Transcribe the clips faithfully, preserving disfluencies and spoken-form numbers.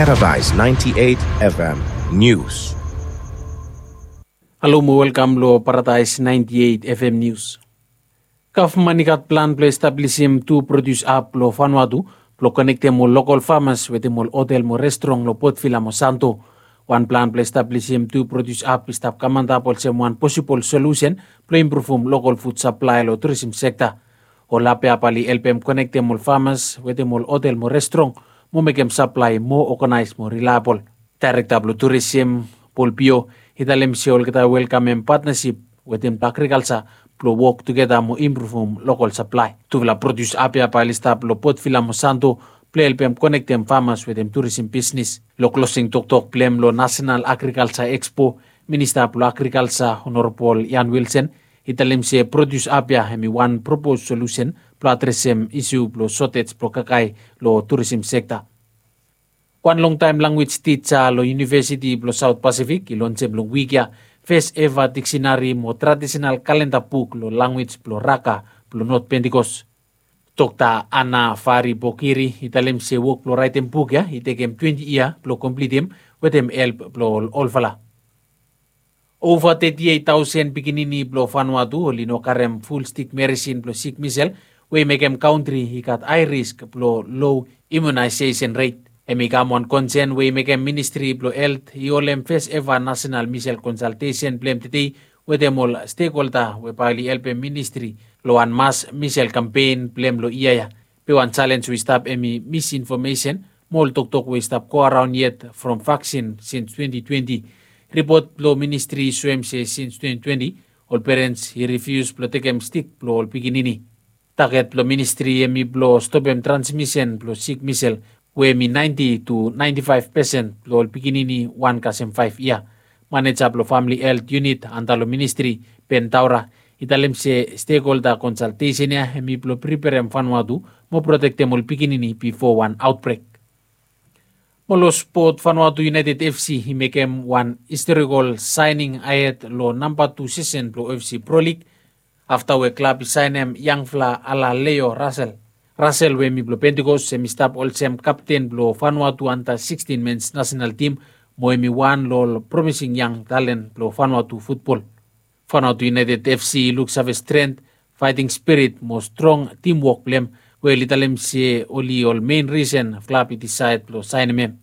Paradise ninety-eight F M News. Halo mo welkam lo Paradise ninety-eight F M News. Gavman i gat plan blo establisim tu produs ap lo Vanuatu blo konektem ol lokol famas wetem ol hotel mo restrong lo Port Vila mo Santo. Wan plan blo establisim tu produs ap i stap kam antap olsem wan posibol solusen blo impruvum lokol fud saplae lo turisim sekta. Ol ap ya bae oli helpem konektem ol famas wetem ol hotel mo restrong mo mekem saplae moa oganaes mo rilaebol. Daerekta blo turisim, Paul Pio, i talem se olgeta i welkamem patnasip wetem agrikalsa blo wok tugeta mo impruvum lokol saplae. Tufala produs ap ya bae oli stap lo Port Vila mo Santo blo helpem konektem famas wetem turisim bisnis. Lo klosing toktok blo hem lo Nasenal Agrikalsa Ekspo, Minista blo Agrikalsa Honorabol Ian Wilson i talem se produs ap ya hemi wan propos solusen blo adresem isu blo sotej blo kakae lo turisim sekta. Wan longtaem lanwis tija lo Univesiti blo Saot Pasifik i lonsem long wik ya fes eva diksenari mo tradisenal kalenda buk lo lanwis blo Raka blo Not Pentikos. Dokta Ana Fari Bokiri i talem se wok blo raetem buk ya i tekem twenti yia blo komplitim wetem help blo ol olfala. Ova teti eit taosen pikinini blo Vanuatu oli no karem ful stik meresin blo sik misel, we i mekem kantri i gat hae risk blo lo imunaesesen ret. Hemi kam wan konsen we i mekem Ministri blo Helt i holem fes eva nasenal misel konsaltesen blo hem tedei wetem ol stekholda we bae oli helpem ministri lo wan mas misel kampen blo hem lo yia ya. Be wan jalenj we i stap hemi misinfomesen mo ol toktok we i stap go araon yet from vaksin sins twenti twenti. Ripot blo ministri i soem se sins twenti twenti ol perens i rifius blo tekem stik blo ol pikinini. Taget blo ministri hemi blo stopem transmisen blo sik misel we hemi naenti tu naenti faef pesen blo ol pikinini wan kasem faef yia. Maneja blo famili helt yunit antap lo ministri, Ben Taura, i talem se stekholda konsaltesen ya hemi blo priperem Vanuatu mo protektem ol pikinini bifo wan aotbrek. Mo lo spot, Vanuatu United F C i mekem wan historikol saening ahed lo namba tu sisen blo F C Pro League afta we klab i saenem yangfala Alaleo Russell. Russell we hemi blo Pentikos hemi stap olsem kapten blo Vanuatu anda sikstin mens nasenal tim mo hemi wan lo ol promising yang talen blo Vanuatu futbol. Vanuatu United F C i luksave strength, faeting spirit mo strong timwok blo hem we oli talem se oli ol mein risen klab i disaed blo saenem hem.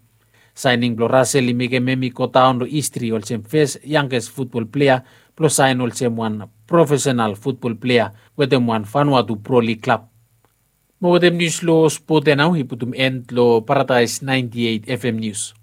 Saening blo Russell i mekem hem i godaon lo histri olsem fes yanges futbol plea blo saen olsem wan profesenal futbol plea wetem wan Vanuatu Pro League klab. Mo wetem nius lo spot ya nao i putum en lo Paradise naenti eit F M Nius.